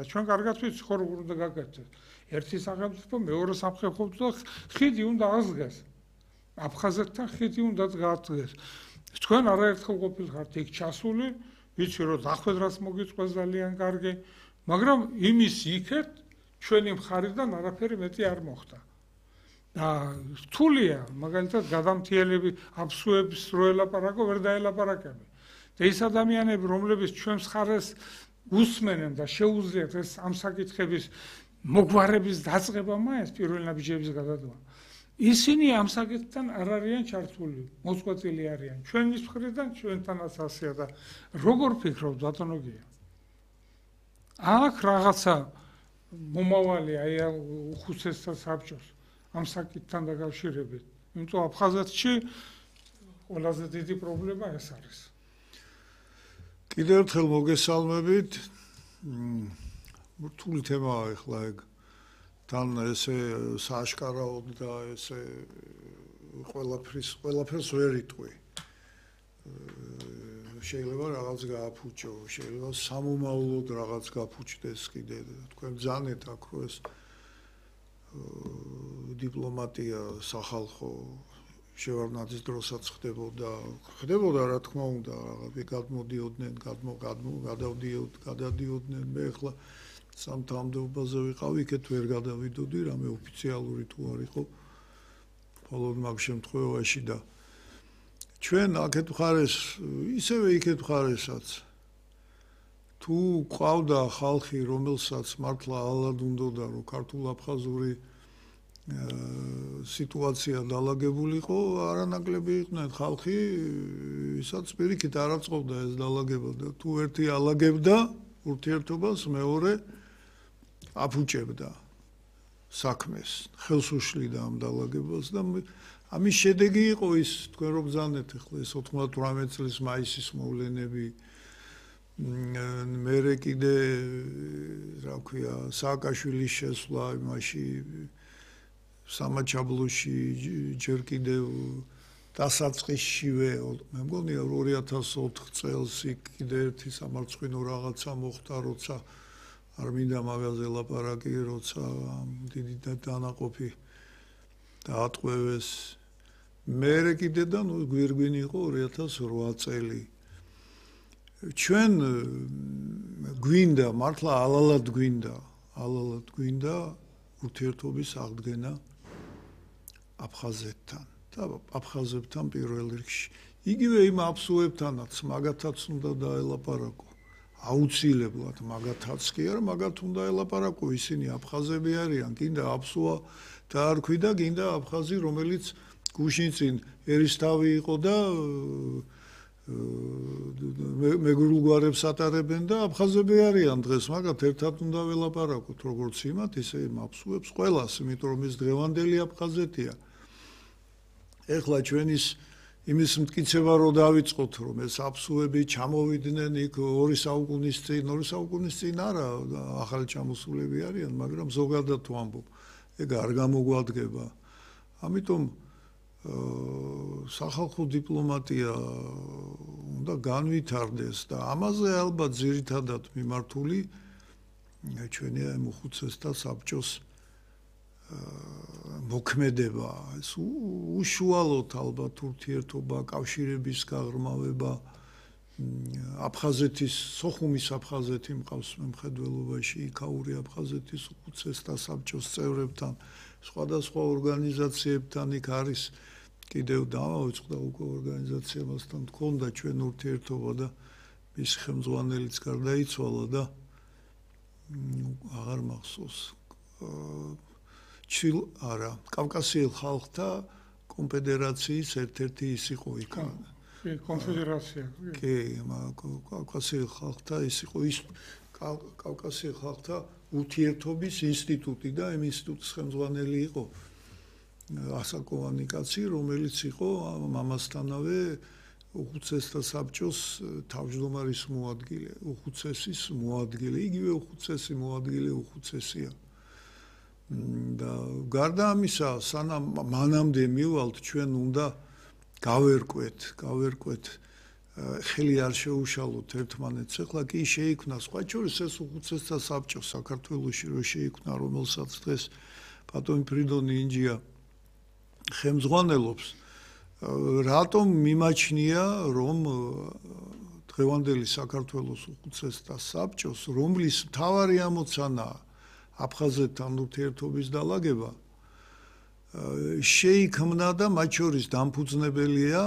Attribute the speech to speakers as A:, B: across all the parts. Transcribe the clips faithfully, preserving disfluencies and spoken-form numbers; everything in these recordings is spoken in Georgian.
A: ჩვენ კარგად ვიცი ხო როგორ უნდა გაგაცნოს. ერთი სახელმწიფო მეორე სამხედრო ხიდი უნდა აღდგეს. აფხაზეთთან ხიდი უნდა გააღწიეს. თქვენ არაერთხელ ყოფილიყართ იქ ჩასული, ვიცი რომ დახვედრას მოგიწყოს ძალიან კარგი, მაგრამ იმის იქეთ ჩვენი მხარიდან არაფერი მეტი არ მოხდა. და რთულია, მაგალითად გადამთიელები აფსუების რო ელაპარაკო, ვერ დაელაპარაკები. და ის ადამიანები, რომლებიც ჩვენს მხარეს უსმენენ და შეუძლიათ ეს ამ საკითხების მოგვარების დაწყება მაინც პირველ ნაბიჯების გადადგმა. ისინი ამ საკითხთან არ არიან ჩართული, მოწყვეტილი არიან. ჩვენის მხრიდან ჩვენთანაც ასეა და როგორ ფიქრობთ ბატონო გია? აქ რაღაცა მომავალი აი უხუცესთა საბჭოს ამ საკითხთან დაკავშირებით. იმიტომ აფხაზეთში ყველაზე დიდი პრობლემა ეს არის.
B: კიდევ ერთხელ მოგესალმებით. რთული თემაა ახლა ეგ. თან ესე სააშკარაოდ და ესე ყველაფრის ყველაფერს ვერ იტყვი. შეიძლება რაღაც გააფუჭო, შეიძლება სამომავლოდ რაღაც გაფუჭდეს კიდე. თქვენ ბრძანეთ აქ რო ეს დიპლომატია სახალხო შევარდნაძის დროსაც ხდებოდა, ხდებოდა რა თქმა უნდა, რაღაცა გადმოდიოდნენ, გადმო გადმო გადავდიოდნენ, გადადიოდნენ. მე ახლა სამთავრობაზე ვიყავი, იქეთ ვერ გადავიდოდი, რამე ოფიციალური თუ არ იყო. მხოლოდ მაგ შემთხვევაში და ჩვენ აქეთ მხარეს, ისევე იქეთ მხარესაც თუ ყავდა ხალხი, რომელსაც მართლა ალად უნდოდა, რომ ქართულ-აფხაზური სიტუაცია დაალაგებულიყო, არანაკლები იყვნენ ხალხი, ვისაც პირიქით არ აწყობდა ეს დაალაგება და თუ ერთი ალაგებდა ურთიერთობას, მეორე აფუჭებდა საქმეს, ხელს უშლიდა ამ დაალაგებას და ამის შედეგი იყო ის, თქვენ რო ბრძანეთ ახლა ეს ოთხმოცდაოთხ წლის მაისის მოვლენები, მერე კიდე რა ქვია, სააკაშვილის შესვლა იმაში სამაჩაბლოში ჯერ კიდევ დასაწყისშივე, მე მგონია ორი ათას ოთხ წელს კიდე ერთი სამარცხვინო რაღაცა მოხდა, როცა არ მინდა მაგაზე ლაპარაკი, როცა დიდი დანაყოფი დაატყვევეს. მერე კიდე და ნუ გვირგვინი იყო ორი ათას რვა წელი. ჩვენ გვინდა, მართლა ალალად გვინდა, ალალად გვინდა ურთიერთობის აღდგენა აფხაზეთთან და აფხაზებთან პირველ რიგში. იგივე იმ აფსუებთანაც მაგათაც უნდა დაელაპარაკო. აუცილებლად მაგათაც კი არა, მაგათ უნდა ელაპარაკო, ისინი აფხაზები არიან, გინდა აფსუა დაარქვი და გინდა აფხაზი, რომელიც გუშინ წინ ერისთავი იყო და მეგრულ გვარებს ატარებენ და აფხაზები არიან დღეს, მაგათ ერთად უნდა ველაპარაკოთ, როგორც იმათ, ისე იმ აფსუებს ყველას, იმიტომ რომ ის დღევანდელი აფხაზეთია. ეხლა ჩვენ ის იმის მტკიცება რო დავიწყოთ, რომ ეს აფსუები ჩამოვიდნენ იქ ორი საუკუნის წინ, ორი საუკუნის წინ არა, ახალი ჩამოსულები არიან, მაგრამ ზოგადად ვამბობ, ეგ არ გამოგვადგება. ამიტომ სახალხო დიპლომატია უნდა განვითარდეს და ამაზე ალბათ ძირითადად მიმართული ჩვენი ამ უხუცესთა საბჭოს მოქმედება, ეს უშუალოდ ალბათ ურთიერთობა, კავშირების გაღრმავება, აფხაზეთის, სოხუმის აფხაზეთი მყავს მემხედველობაში, იქაური აფხაზეთის უხუცესთა საბჭოს წევრებთან, სხვადასხვა ორგანიზაციებთან იქ არის კიდევ დავაუწყდა უკვე ორგანიზაციებასთან თქონდა ჩვენ ურთიერთობა და მის ხელმძღვანელიც გარდაიცვალა და აღარ მახსოვს. ჩილ არა, კავკასიელ ხალხთა კონფედერაციის ერთ-ერთი ის იყო იქ.
A: კონფედერაცია.
B: კი, კავკასიელ ხალხთა ის იყო ის კავკასიელ ხალხთა ურთიერთობის ინსტიტუტი და იმ ინსტიტუტის ხელმძღვანელი იყო ასაკოვანი კაცი, რომელიც იყო მამასთანავე უხუცესთა საბჭოს თავმჯდომარის მოადგილე, უხუცესის მოადგილე, იგივე უხუცესი მოადგილე უხუცესია. და გარდა ამისა, სანამ მანამდე მივალთ, ჩვენ უნდა გავერკვეთ, გავერკვეთ ხელი არ შეუშალოთ ერთმანეთს. ეხლა კი შეიქმნა სხვა შორის ეს უხუცესთა საბჭო საქართველოში რო შეიქმნა, რომელსაც დღეს ბატონი ფრიდონი ინჯია ხელმძღვანელობს. რატომ მიმაჩნია რომ დღევანდელი საქართველოს უხუცესთა საბჭოს, რომლის მთავარი ამოცანაა აფხაზეთთან ურთიერთობის დალაგება, შეიქმნა და მათ შორის დამფუძნებელია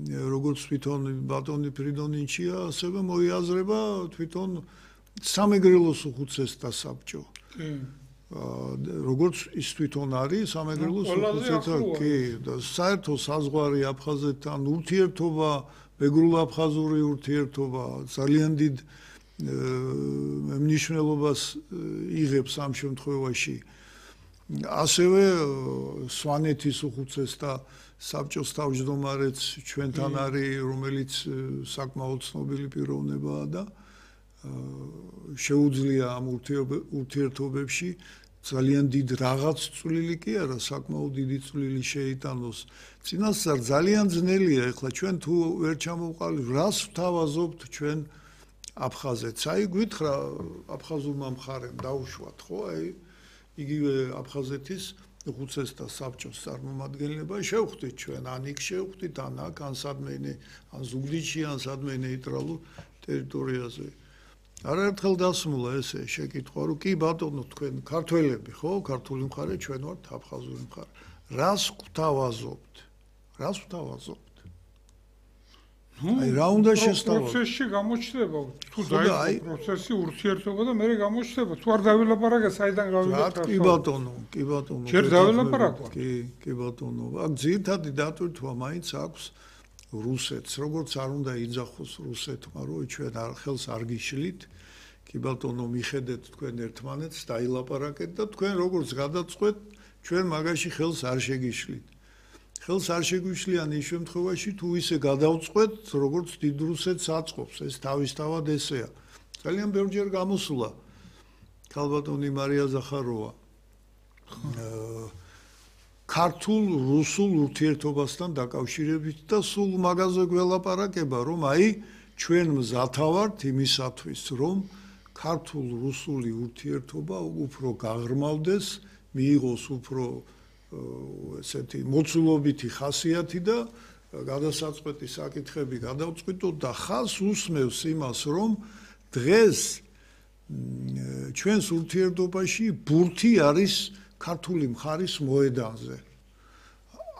B: როგორც თვითონ ბატონი ფრიდონინჩია, ასევე მოიაზრება თვითონ სამეგრელოს უხუცესთა საბჭო. როგორც ის თვითონ არის სამეგრელოს უხუცესთა, კი, და საერთო საზღვარი აფხაზეთთან ურთიერთობა, მეგრულ-აფხაზური ურთიერთობა ძალიან დიდ მნიშვნელობას იღებს ამ შემთხვევაში. ასევე სვანეთის უხუცესთა საბჭოს თავმჯდომარეც ჩვენთან არის, რომელიც საკმაოდ ცნობილი პიროვნებაა და შეუძლია ამ ურთიერთობებში ძალიან დიდ რაღაც წვლილი კი არა, საკმაოდ დიდი წვლილი შეიტანოს. წინასწარ ძალიან ძნელია, ეხლა ჩვენ თუ ვერ ჩამოვყალიბ, რას ვთავაზობთ ჩვენ აფხაზეთს? აი გვითხრა აფხაზურმა მხარემ დაუშვათ, ხო? აი იგივე აფხაზეთის უხუცესთა საბჭოს წარმომადგენლება შევხვდით ჩვენ, ან იქ შევხვდით, ან აქ, ან სადმე, ან ზუგდიდში, ან სადმე ნეიტრალურ ტერიტორიაზე. არაერთხელ დასმულა ესე შეკითხვა, რომ კი ბატონო, თქვენ ქართველები, ხო? ქართული მხარე, ჩვენ ვართ აფხაზური მხარე. რას გვთავაზობთ? რას ვთავაზობთ? აი რა უნდა შესთავაზოთ?
A: პროცესში გამოჩნდება, თუ დაიწყო პროცესი ურთიერთობა და მე გამოჩნდება, თუ არ დავილაპარაკე, საიდან გავიგეთ?
B: კი ბატონო, კი ბატონო.
A: ჯერ დავილაპარაკოთ.
B: კი, კი ბატონო. აქ ძირითადი დატვირთვა მაინც აქვს რუსეთს, როგორც არ უნდა იძახოს რუსეთმა, რომ ჩვენ არ ხელს არ გიშლით. კი ბატონო, მიხედეთ თქვენ ერთმანეთს, დაილაპარაკეთ და თქვენ როგორც გადაწყვეტ, ჩვენ მაგაში ხელს არ შეგიშლით. ხელს არ შეგვიშლიან ის შემთხვევაში, თუ ისე გადავწყვეტ, როგორც დიდ რუსეთს აწყობს, ეს თავისთავად ესეა. ძალიან ბევრჯერ გამოსულა ქალბატონი მარია ზახაროვა ქართულ რუსულ ურთიერთობასთან დაკავშირებით და სულ მაგაზე გველაპარაკება, რომ აი ჩვენ მზათა ვართ იმისათვის, რომ ქართულ რუსული ურთიერთობა უფრო გაღრმავდეს, მიიღოს უფრო ესეთი მოცულობითი ხასიათი და გადასაწყვეტი საკითხები გადავწყვიტოთ და ხას უსმევს იმას, რომ დღეს ჩვენს ურთიერთობაში ბურთი არის ქართული მხარის მოედანზე.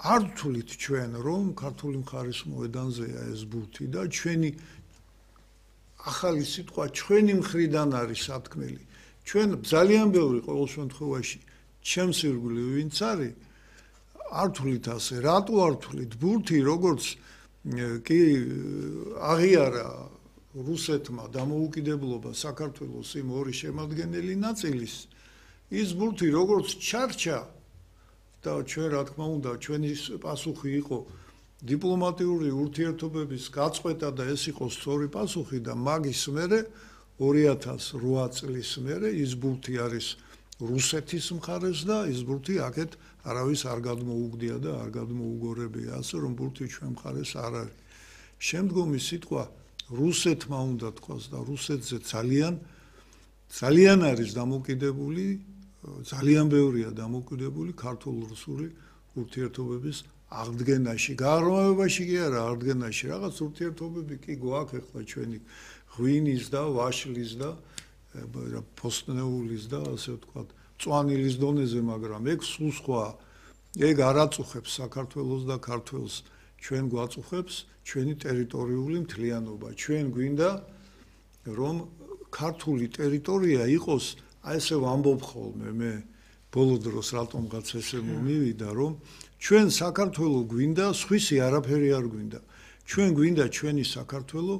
B: არ ვთვლით ჩვენ, რომ ქართული მხარის მოედანზეა ეს ბურთი და ჩვენი ახალი სიტყვა ჩვენი მხრიდან არის სათქმელი. ჩვენ ძალიან ბევრი ყოველ შემთხვევაში ჩემს ირგვლივ ვინც არის, არ ვთვლით ასე. რატო არ ვთვლით? ბურთი როგორც კი აღიარა რუსეთმა დამოუკიდებლობა საქართველოს იმ ორი შემადგენელი ნაწილის, ის ბურთი როგორც ჩარჩა და ჩვენ რა თქმა უნდა ჩვენი პასუხი იყო დიპლომატიური ურთიერთობების გაწყვეტა და ეს იყო სწორი პასუხი და მაგის მერე ორი ათას ოთხ წლის მერე ის ბურთი არის რუსეთის მხარეს და ის ბურთი აქეთ არავის არ გადმოუგდია და არ გადმოუგორებია, ასე რომ ბურთი ჩვენ მხარეს არ არის. შემდგომი სიტყვა რუსეთმა უნდა თქვას და რუსეთზე ძალიან ძალიან არის დამოკიდებული, ძალიან ბევრია დამოკიდებული ქართულ-რუსული ურთიერთობების აღდგენაში, გაღრმავებაში კი არა, აღდგენაში. რაღაც ურთიერთობები კი გვაქვს ახლა ჩვენი ღვინის და ვაშლის და ფოსტნეულის და ასე ვთქვათ, წვანილის დონეზე, მაგრამ ეგ სულ სხვა. ეგ არ აწუხებს საქართველოს და ქართველს, ჩვენ გვაწუხებს ჩვენი ტერიტორიული მთლიანობა. ჩვენ გვინდა რომ ქართული ტერიტორია იყოს, აი ესე ვამბობ ხოლმე მე ბოლო დროს რატომღაც ესე მომივიდა, რომ ჩვენ საქართველო გვინდა, სხვისი არაფერი არ გვინდა. ჩვენ გვინდა ჩვენი საქართველო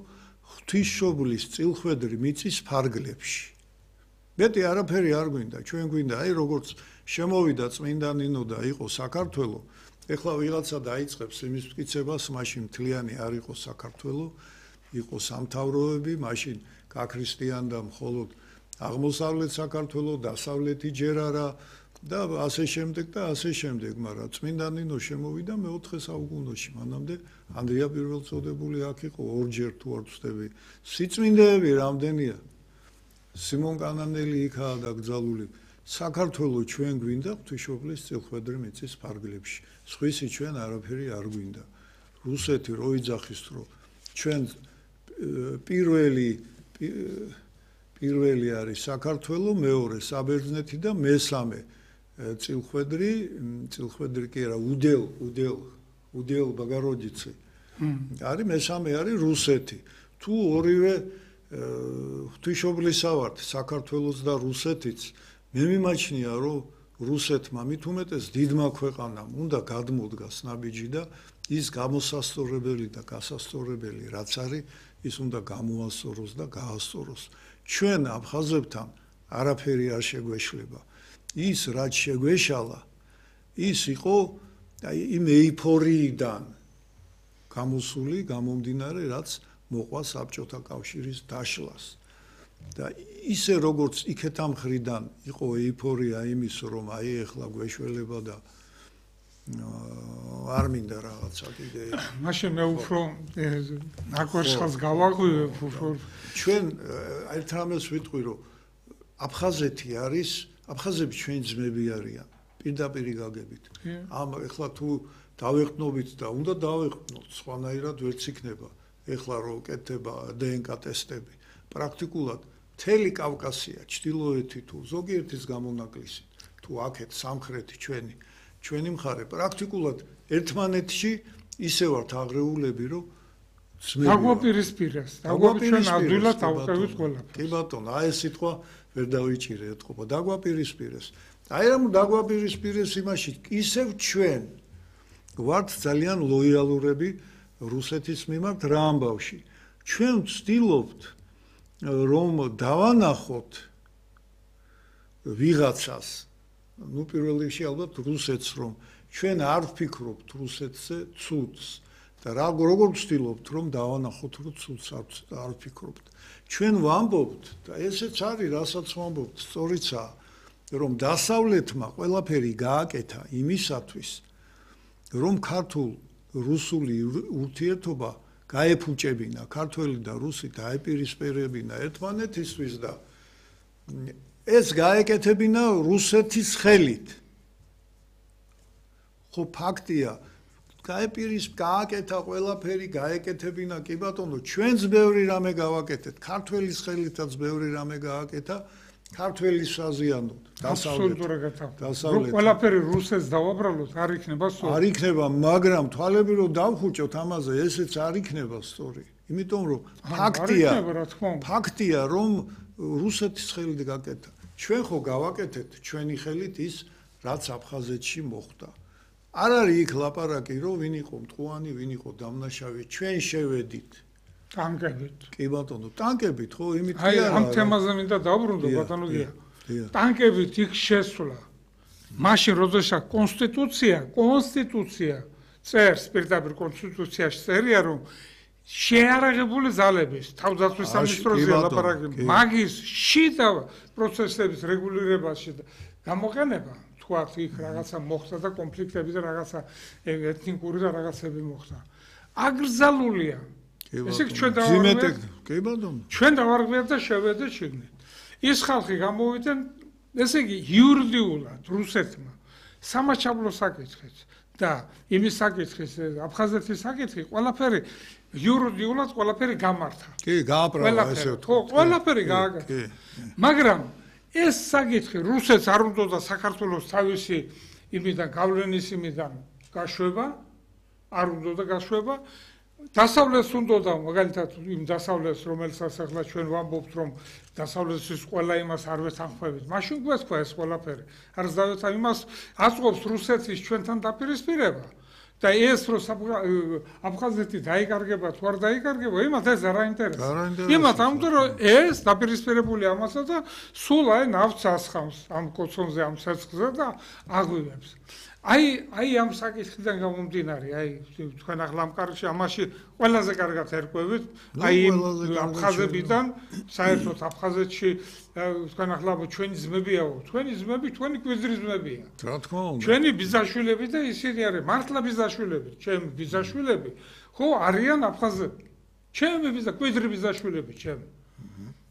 B: ღვთისმშობლის წილხვედრი მიწის ფარგლებში. მეტი არაფერი არ გვინდა, ჩვენ გვინდა, აი როგორც შემოვიდა წმინდა ნინო და იყო საქართველო, ეხლა ვიღაცა დაიწყებს იმის მტკიცებას, მაშინ მთლიანი არ იყო საქართველო, იყო სამთავროები, მაშინ გაქრისტიანდა მხოლოდ აღმოსავლეთ საქართველო, დასავლეთი ჯერ არა, და ასე შემდეგ და ასე შემდეგ, მაგრამ წმინდა ნინო შემოვიდა მეოთხე საუკუნეში, მანამდე ანდრია პირველწოდებული აქ იყო ორჯერ თუ არ ვცდები. სიწმინდეები რამდენია? სიმონ კანანელი იქაა დაკრძალული. საქართველოს ჩვენ გვინდა ღვთისმშობლის წილხვედრი მიწის ფარგლებში. სხვისი ჩვენ არაფერი არ გვინდა. რუსეთი რო იძახის რომ ჩვენ პირველი პირველი არის საქართველოს, მეორე საბერძნეთი და მესამე წილხვედრი, წილხვედრი კი არა, უდელ, უდელ, უდელ ბაგაროჯიცი. არის მესამე არის რუსეთი. თუ ორივე ღვთისმშობლისა ვართ, საქართველოს და რუსეთიც, მე მიმაჩნია, რომ რუსეთმა მით უმეტეს დიდმა ქვეყანამ უნდა გადმოდგას ნაბიჯი და ის გამოსასწორებელი და გასასწორებელი რაც არის, ის უნდა გამოასწოროს და გაასწოროს. ჩვენ აფხაზებთან არაფერი არ შეგვეშლება. ის რაც შეგვეშალა, ის იყო აი იმ ეიფორიიდან გამოსული, გამომდინარე, რაც მოყვა საბჭოთა კავშირის დაშლას. და ისე როგორც იქეთ ამ მხრიდან იყო ეიფორია იმის, რომ აი ეხლა გვეშველება და არ მინდა რაღაცა კიდე.
A: მაშინ მე უფრო ნაკოშხალს გავაღვივებ უფრო.
B: ჩვენ ერთ რამეს ვიტყვი, რომ აფხაზეთი არის, აფხაზები ჩვენი ძმები არიან, პირდაპირი გაგებით. ამ ეხლა თუ დავეყნობით და უნდა დავეყნოთ, სხვანაირად ვერც იქნება. ეხლა რო კეთდება დე ენ კა ტესტები, პრაქტიკულად მთელი კავკასია, ჩრდილოეთი თუ ზოგიერთის გამონაკლისი, თუ აქეთ სამხრეთი ჩვენი, ჩვენი მხარე პრაქტიკულად ერთმანეთში ისე ვართ აღრეულები, რომ ძმები.
A: დაგვაპირისპირეს, დაგვაპირისპირეს, ადვილად ავყევით ყველაფერს.
B: კი ბატონო, აი ეს სიტყვა ვერ დავიჭირე ეთყობა, დაგვაპირისპირეს. აი რამ დაგვაპირისპირეს იმაში, ისევ ჩვენ ვართ ძალიან ლოიალურები რუსეთის მიმართ რა ამბავში. ჩვენ ვცდილობთ რომ დავანახოთ ვიღაცას, ну პირველ რიგში ალბათ რუსეთს, რომ ჩვენ არ ვფიქრობთ რუსეთზე ცუდს და რა როგორ ვცდილობთ რომ დავანახოთ რომ ცუდს არ ვფიქრობთ. ჩვენ ვამბობთ და ესეც არის, რასაც ვამბობთ, სწორიცაა, რომ დასავლეთმა ყველაფერი გააკეთა იმისათვის, რომ ქართულ რუსული ურთიერთობა გაეფუჭებინა, ქართველი და რუსი დაეპირისპირებინა ერთმანეთისთვის და ეს გაეკეთებინა რუსეთის ხელით. ხო ფაქტია, გაეპირის გააკეთა ყველაფერი, გაეკეთებინა, კი ბატონო, ჩვენც ბევრი რამე გავაკეთეთ, ქართველის ხელითაც ბევრი რამე გააკეთა, ქართველის საზიანოდ,
A: დასავლეთ. ყველაფერი რუსეთს დავაბრალოთ, არ იქნება სწორი.
B: არ იქნება, მაგრამ თვალები რომ დავხუჭოთ ამაზე, ესეც არ იქნება სწორი. იმიტომ რომ ფაქტია, ფაქტია, რომ რუსეთის ხელით გაკეთა. ჩვენ ხო გავაკეთეთ ჩვენი ხელით ის, რაც აფხაზეთში მოხდა. არ არის იქ ლაპარაკი, რომ ვინ იყო მტყუანი, ვინ იყო დამნაშავე, ჩვენ შევედით.
A: ტანკებით.
B: კი ბატონო, ტანკებით ხო, იმით
A: კი არა. აი ამ თემაზე მინდა დავბრუნდო ბატონო გია. ტანკებით იქ შესვლა. მაშინ როდესაც კონსტიტუცია, კონსტიტუცია წერს, პირდაპირ კონსტიტუციაში წერია, რომ შეარაღებული ძალების თავდაცვის სამინისტროზე ლაპარაკი, მაგის შიდა პროცესების რეგულირებაში გამოყენება, თქვათ იქ რაღაცა მოხდა და კონფლიქტები და რაღაცა ეთნიკური და რაღაცები მოხდა. აკრძალულია. ესე იგი ჩვენ დავარღვიეთ,
B: კი ბატონო.
A: ჩვენ დავარღვიეთ და შევედეთ შიგნით. ის ხალხი გამოვიდნენ, ესე იგი იურიდიულად რუსეთმა სამაჩაბლო საკითხიც და იმის საკითხის, აფხაზეთის საკითხი, ყველაფერი იურიდიულად ყველაფერი გამართა.
B: კი, გააბრალა ესე
A: თუ. ხო, ყველაფერი გააკეთა. მაგრამ ეს საკითხი რუსეთს არ უნდა საქართველოს თავისი იმიდან გავლენის იმიდან გაშვება, არ უნდა გაშვება. დასავლეთს უნდა და მაგალითად იმ დასავლეთს, რომელსაც ახლა ჩვენ ვამბობთ, რომ დასავლეთის ყველა იმას არ ვეთანხმებით, მაშინ გვესქვა ეს ყველაფერი. არ ზავეთა იმას აწყობს რუსეთის ჩვენთან დაპირისპირება. და ეს რო აფხაზეთი დაიკარგება თუ არ დაიკარგება, იმათ ეს არ აინტერესებს. იმათ ამიტომ რომ ეს დაპირისპირებული ამასა და სულ აი ნავთს ასხამს ამ კოცონზე, ამ ცეცხლზე და აღვივებს. აი აი ამ საკითხიდან გამომდინარე, აი თქვენ ახლა ამ კარში ამაში ყველაზე კარგად ერკვევით, აი აფხაზებიდან საერთოდ აფხაზეთში თქვენ ახლა ჩვენი ძმებიაო, თქვენი ძმები თქვენი კვიზრის ძმებია.
B: რა თქმა უნდა.
A: ჩვენი ბიძაშვილები და ისინი არის მართლა ბიძაშვილები, ჩემი ბიძაშვილები, ხო არიან აფხაზები. ჩემი ბიზა კვიზრის ბიძაშვილები, ჩემი.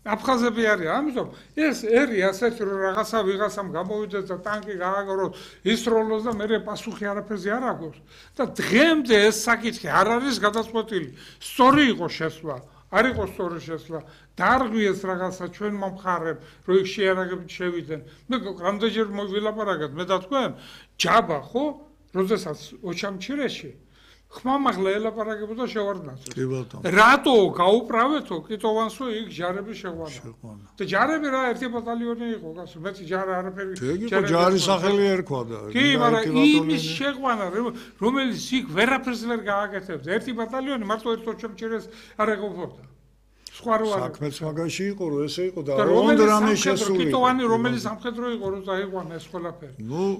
A: აფხაზები არის, ამიტომ ეს ერი ასეთ რომ რაღაცა ვიღაცამ გამოვიდეს და ტანკი გააგოროს, ისროლოს და მე პასუხი არაფერზე არ აქვს და დღემდე ეს საკითხი არ არის გადაწყვეტილი. სწორი იყო შესვლა, არ იყო სწორი შესვლა, დარღვიეს რაღაცა ჩვენმა მხარემ, რომ იქ შეარაღებით შევიდნენ. მე რამდენჯერ მოვილაპარაკეთ მე და თქვენ, ჯაბა ხო, როდესაც ოჩამჩირეში ხმამაღლა ელაპარაკებოდა შევარდნაძე.
B: კი ბატონო.
A: რატო გაუправეთო კიტოვანსო იქ ჯარები შეყვანა. და ჯარები რა ერთი ბატალიონი იყო, გასულ მეც ჯარი არაფერი.
B: ჯარი ჯარი სახელი ერქვა და.
A: კი, მაგრამ იმის შეყვანა, რომელიც იქ ვერაფერს ვერ გააკეთებდა. ერთი ბატალიონი მარტო ერთ ოჩამჩირეს არ ეყოფოდა. სხვა რო არ.
B: საქმეც მაგაში იყო, რომ ესე იყო და რომელ რამე შესული.
A: კიტოვანი რომელი სამხედრო იყო, რომ დაიყვანა ეს ყველაფერი.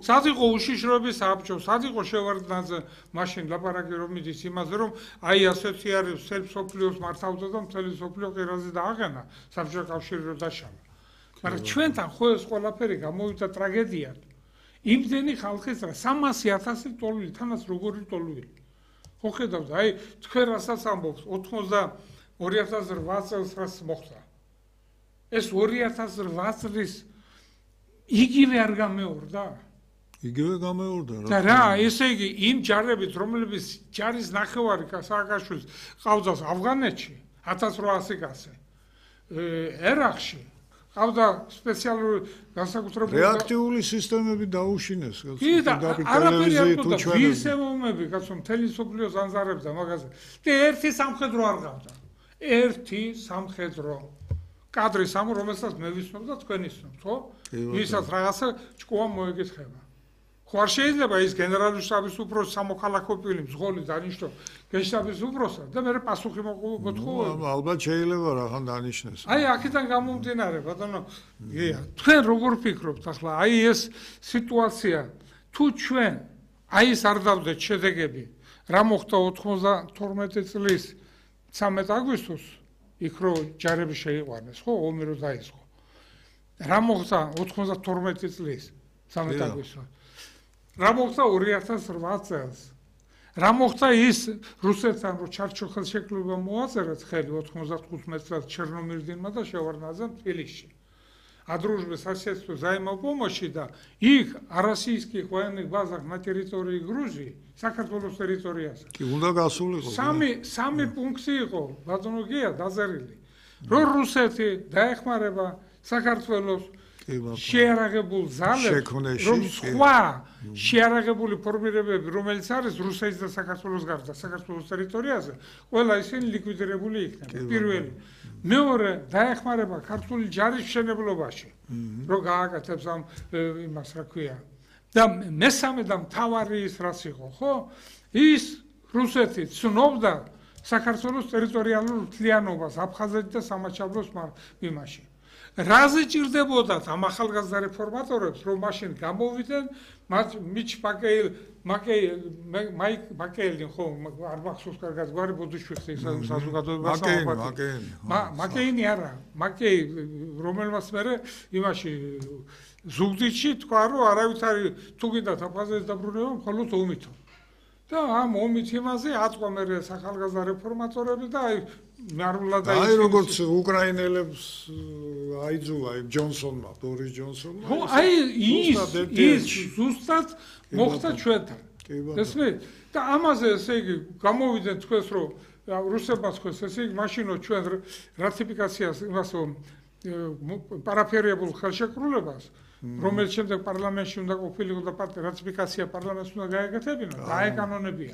A: სად იყო უშიშროების საბჭო, სად იყო შევარდნაძე მაშინ ლაპარაკი რომ მიდის იმაზე, რომ აი ასეთი არის სერბ სოფლიოს მართავდა და მთელი სოფლიო ყირაზე დააღენა საბჭოთა კავშირი რო დაშალა. მაგრამ ჩვენთან ხო ეს ყველაფერი გამოვიდა ტრაგედიად. იმდენი ხალხის რა სამასი ათასი ტოლვილი, თანაც როგორი ტოლვილი. ხო ხედავთ, აი თქვენ რასაც ამბობთ ოთხმოცდა ორი ათას რვა წელს რას მოხდა. ეს ორი ათას რვა წლის იგივე არ გამეორდა.
B: იგივე გამეორდა რა.
A: და რა, ესე იგი იმ ჯარებით, რომლებიც ჯარის ნახევარი სააკაშვილის ყავდას ავღანეთში ათას რვაასი კაცი. ერაყში ყავდა სპეციალური განსაკუთრებული
B: რეაქტიული სისტემები დაუშინეს.
A: კი და არაფერი არ ყავდა ვისემომები, კაცო მთელი სოფლიოს ანზარებდა მაგაზე. და ერთი სამხედრო არ ყავდა. ერთი სამხედრო კადრი სამ რომელსაც მე ვისნობ და თქვენ ისნობთ, ხო? ვისაც რაღაცა ჭკუა მოეკითხება. ხო არ შეიძლება ის გენერალური შტაბის უფროსი სამოქალაქო პირი მძღოლი დანიშნო გენშტაბის უფროსად და მე პასუხი მოთხოვე.
B: ალბათ შეიძლება რახან დანიშნეს.
A: აი აქედან გამომდინარე, ბატონო, გია, თქვენ როგორ ფიქრობთ ახლა? აი ეს სიტუაცია თუ ჩვენ აი ეს არ დავდეთ შედეგები, რა მოხდა ოთხმოცდათორმეტი წლის სამი აგვისტოს იქ რო ჯარები შეიყვანეს, ხო, ომი რო დაიწყო. რა მოხდა ოთხმოცდათორმეტი წლის სამი აგვისტოს? რა მოხდა ორი ათას რვა წელს? რა მოხდა ის რუსეთთან რო ჩარჩო ხელშეკრულება მოაწერეთ ხელი ოთხმოცდახუთი წელს ჩერნომირდინმა და შევარდნაძემ თბილისში. о дружбе, соседстве, взаимопомощи, да, их российских военных базах на территории Грузии, საქართველოს ტერიტორიაზე.
B: კი უნდა გასულიყო.
A: სამი სამი პუნქტი იყო, ბატონო გია დაზარილი. რო რუსეთი დაეხმარება საქართველოს შეარაღებულ ძალებს, რომ სხვა შეარაღებული ფორმირებები, რომელიც არის რუსეთის და საქართველოს გარდა საქართველოს ტერიტორიაზე, ყველა ისინი ლიკვიდირებული იქნება. პირველი. მეორე დაეხმარება ქართული ჯარის მშენებლობაში, რომ გააკეთებს ამ იმას რა ქვია. და მესამე და მთავარი ის რაც იყო, ხო? ის რუსეთი ცნობდა საქართველოს ტერიტორიალურ მთლიანობას აფხაზეთში და სამაჩაბლოს მიმაში. რაზე ჭირდებოდათ ამ ახალგაზრდა რეფორმატორებს, რომ მაშინ გამოვიდნენ მათ მიჩ პაკეილ მაკეი მაიკ მაკეილი ხო არ მახსოვს კარგად გვარი ბოდიშვიხი საზოგადოებას
B: მაკეინი
A: მაკეინი არა მაკეი რომელმაც მე იმაში ზუგდიდში თქვა რომ არავითარი თუ გინდათ აფხაზეთის დაბრუნება მხოლოდ ომითო და ამ ომით იმაზე აწვა მე ახალგაზრდა რეფორმატორები და აი ნარულად
B: აი როგორც უკრაინელებს აიძულა იმ ჯონსონმა ბორის ჯონსონმა
A: ხო აი ის ის ზუსტად მოხდა ჩვენთან ესმით და ამაზე ესე იგი გამოვიდნენ თქვენს რომ რუსებმა თქვენს ესე იგი მაშინო ჩვენ რატიფიკაციას იმასო პარაფერებულ ხელშეკრულებას რომელიც შემდეგ პარლამენტში უნდა ყოფილიყო და რატიფიკაცია პარლამენტს უნდა გაეკეთებინა, დაეკანონებია.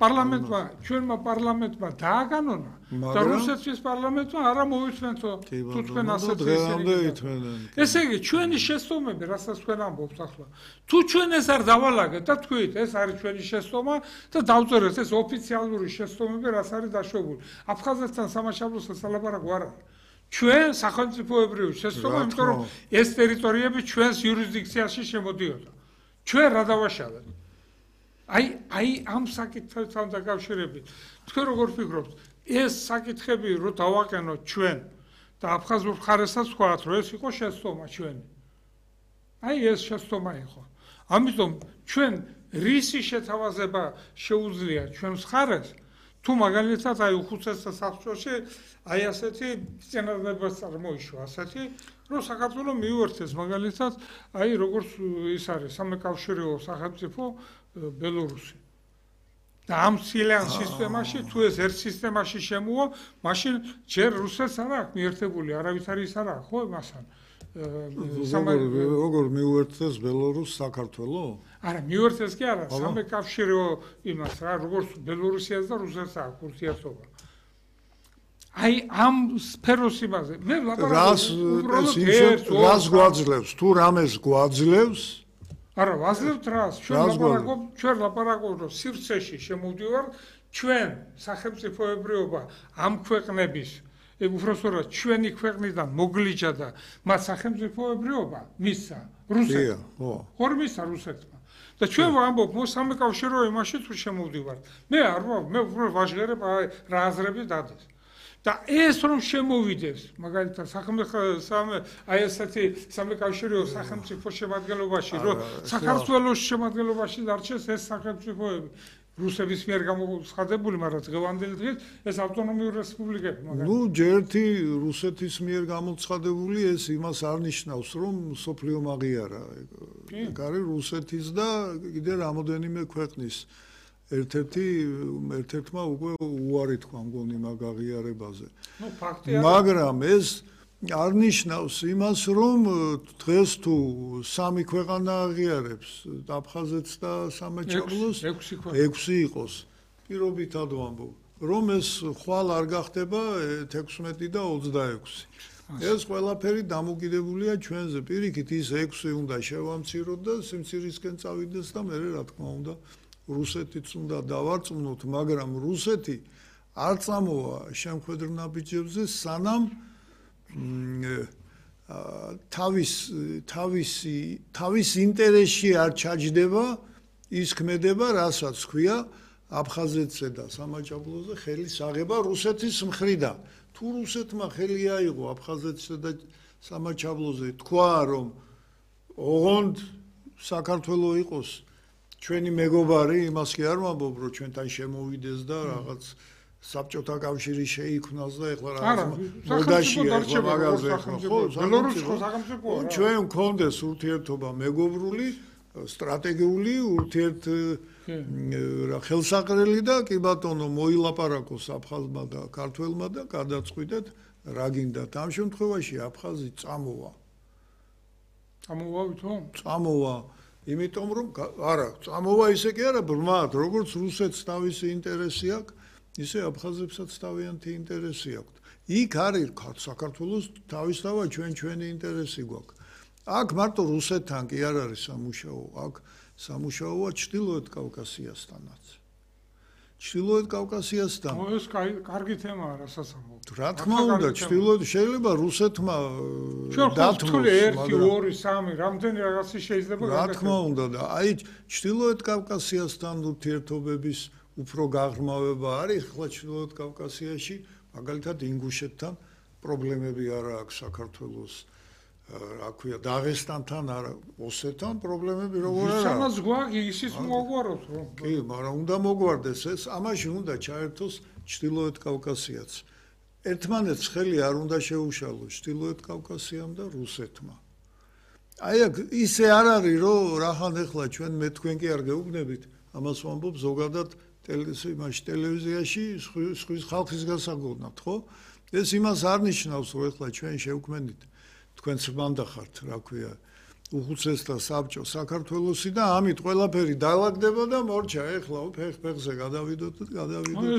A: პარლამენტმა, ჩვენმა პარლამენტმა დააკანონა და რუსეთის პარლამენტმა არა მოიწვენთო თუ თქვენ ასეთ ისე. ესე იგი, ჩვენი შეცდომები, რასაც თქვენ ამბობთ ახლა, თუ ჩვენ ეს არ დავალაგეთ და თქვით, ეს არის ჩვენი შეცდომა და დავწერეთ ეს ოფიციალური შეცდომები, რაც არის დაშვებული. აფხაზეთთან სამაჩაბლოსთან სალაპარაკო არ არის. ჩვენ სახელმწიფოებრივი შეცდომა, იმიტომ რომ ეს ტერიტორიები ჩვენს იურისდიქციაში შემოდიოდა. ჩვენ რა დავაშალეთ? აი, აი ამ საკითხებთან დაკავშირებით, თქვენ როგორ ფიქრობთ, ეს საკითხები რო დავაყენოთ ჩვენ და აფხაზურ მხარესაც ვთქვათ, რომ ეს იყო შეცდომა ჩვენი. აი ეს შეცდომა იყო. ამიტომ ჩვენ რისი შეთავაზება შეუძლია ჩვენს მხარეს, თუ მაგალითად აი უხუცესთა საბჭოში აი ასეთი სცენარები წარმოიშვა, ასეთი, რომ საქართველოს მიუერთეს მაგალითად აი როგორც ის არის სამეკავშირეო სახელმწიფო ბელორუსი. და ამ სილიან სისტემაში თუ ეს ერთ სისტემაში შემოვა, მაშინ ჯერ რუსეთს არ აქვს მიერთებული, არავითარი ის არ აქვს, ხო, მასთან.
B: როგორ მიუერთეს ბელორუსს საქართველო?
A: არა, მიუერთეს კი არა, სამეკავშირეო იმას რა, როგორც ბელორუსიას და რუსეთს აქვს ურთიერთობა. აი ამ სფეროს იმაზე, მე
B: რას რას გვაძლევს, თუ რამეს გვაძლევს?
A: არა, ვაძლევთ რას? ჩვენ ლაპარაკობ, ჩვენ ლაპარაკობ, რომ სივრცეში შემოვდივარ, ჩვენ სახელმწიფოებრიობა ამ ქვეყნების უბრალოდ ჩვენი ქვეყნიდან მოგლიჯა და მათ სახელმწიფოებრიობა მისცა რუსეთს. ხო. ხომ მისცა რუსეთმა. და ჩვენ ვამბობ, მოსამეკავშირეო იმაში თუ შემოვდივართ. მე არ ვარ, მე უბრალოდ ვაჟღერებ რა აზრები დადეს. და ეს რომ შემოვიდეს, მაგალითად, სახელმწიფო აი ესეთი სამეკავშირეო სახელმწიფო შემადგენლობაში, რომ საქართველოს შემადგენლობაში დარჩეს ეს სახელმწიფოები, რუსების მიერ გამოცხადებული, მაგრამ დღევანდელი დღით ეს ავტონომიური რესპუბლიკები, მაგალითად.
B: ნუ ჯერთი რუსეთის მიერ გამოცხადებული ეს იმას არ ნიშნავს, რომ სოფლიო მაგიარა. ეგ არის რუსეთის და კიდე რამოდენიმე ქვეყნის ერთ-ერთი ერთ-ერთმა უკვე უარი თქვა მგონი მაგ აღიარებაზე.
A: ნუ ფაქტია.
B: მაგრამ ეს არ ნიშნავს იმას, რომ დღეს თუ სამი ქვეყანა აღიარებს, აფხაზეთს და სამეჩაბლოს, ექვსი იყოს. პირობითად ვამბობ, რომ ეს ხვალ არ გახდება თექვსმეტი და ოცდაექვსი. ეს ყველაფერი დამოკიდებულია ჩვენზე. პირიქით ის ექვსი უნდა შევამციროთ და სიმცირისკენ წავიდეს და მე რა თქმა უნდა რუსეთიც უნდა დავარწმუნოთ, მაგრამ რუსეთი არ წამოვა შემხედრ ნაბიჯებზე, სანამ თავის თავისი თავის ინტერესში არ ჩაჯდება ის ქმედება, რასაც ქვია აფხაზეთზე და სამაჩაბლოზე ხელის აღება რუსეთის მხრიდან. თუ რუსეთმა ხელი აიღო აფხაზეთზე და სამაჩაბლოზე, თქვა რომ ოღონდ საქართველო იყოს ჩვენი მეგობარი, იმას კი არ ვამბობ, რომ ჩვენთან შემოვიდეს და რაღაც საბჭოთა კავშირი შეიქმნას და ეხლა რაღაც მოდაშია ეხლა მაგაზე ხო,
A: ბელორუსი ხო სახელმწიფოა.
B: ჩვენ მქონდეს ურთიერთობა მეგობრული, სტრატეგიული, ურთიერთ რა ხელსაყრელი და კი ბატონო მოილაპარაკოს აფხაზმა და ქართველმა და გადაწყვიტეთ რა გინდათ. ამ შემთხვევაში აფხაზი წამოვა.
A: წამოვა ვითომ?
B: წამოვა. იმიტომ რომ არა, წამოვა ისე კი არა, ბრმად, როგორც რუსეთს თავისი ინტერესი აქვს, ისე აფხაზებსაც თავიანთი ინტერესი აქვს. იქ არის საქართველოს თავისთავად ჩვენ ჩვენი ინტერესი გვაქვს. აქ მარტო რუსეთთან კი არ არის სამუშაო, აქ სამუშაოა ჩრდილოეთ კავკასიასთანაც. ჩრდილოეთ კავკასიასთან.
A: ეს კარგი თემაა, რასაც ამბობ.
B: რა თქმა უნდა, ჩრდილოეთ შეიძლება რუსეთმა
A: დათმოს ერთი, ორი, სამი, რამდენი რაღაცი შეიძლება
B: გაკეთდეს. რა თქმა უნდა და აი ჩრდილოეთ კავკასიასთან ურთიერთობების უფრო გაღრმავება არის ხლა ჩრდილოეთ კავკასიაში, მაგალითად ინგუშეთთან პრობლემები არ აქვს საქართველოს. რა ქვია, დაღესტანთან არა, ოსეთთან პრობლემები როგორ არა?
A: სამას გვაქვს, ისიც მოგვაროთ რომ.
B: კი, მაგრამ უნდა მოგვარდეს ეს, ამაში უნდა ჩაერთოს ჩრდილოეთ კავკასიაც. ერთმანეთს ხელი არ უნდა შეუშალოს ჩრდილოეთ კავკასიამ და რუსეთმა. აი აქ ისე არ არის, რომ რახან ეხლა ჩვენ მე თქვენ კი არ გეუბნებით, ამას ვამბობ ზოგადად ტელევიზიაში სხვის ხალხის გასაგონად, ხო? ეს იმას არ ნიშნავს, რომ ეხლა ჩვენ შევქმნით თქვენც მანდა ხართ, რა ქვია, უხუცესთა საბჭო საქართველოსი და ამით ყველაფერი დაალაგდება და მორჩა, ეხლა ფეხ-ფეხზე გადავიდოთ და გადავიდოთ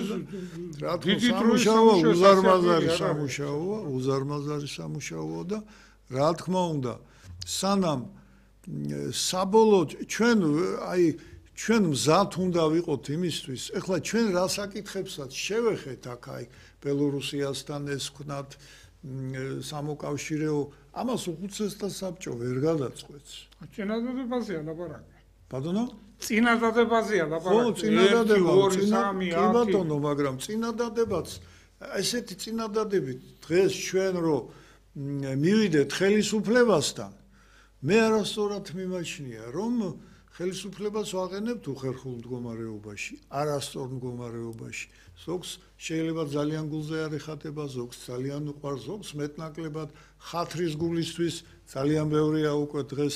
B: და რა თქმა უნდა სამუშაოა, უზარმაზარი სამუშაოა, უზარმაზარი სამუშაოა და რა თქმა უნდა, სანამ საბოლოოდ ჩვენ აი ჩვენ მზად უნდა ვიყოთ იმისთვის, ეხლა ჩვენ რა საკითხებსაც შევეხეთ აქ აი ბელორუსიასთან ეს ვქნათ სამოკავშირეო ამას უხუცესთა საბჭო ვერ გადაწყვეტს.
A: წინადადებაზეა ლაპარაკი.
B: ბატონო?
A: წინადადებაზეა ლაპარაკი.
B: ხო, წინადადება, ორი, სამი, ათი. კი ბატონო, მაგრამ წინადადებაც ესეთი წინადადებით დღეს ჩვენ რომ მივიდეთ ხელისუფლებასთან, მე არასწორად მიმაჩნია, რომ ხელისუფლებას ვაყენებთ უხერხულ მდგომარეობაში, არასწორ მდგომარეობაში. ზოგს შეიძლება ძალიან გულზე არ ეხატება, ზოგს ძალიან უყვარს, ზოგს მეტნაკლებად ხათრის გულისთვის ძალიან ბევრია უკვე დღეს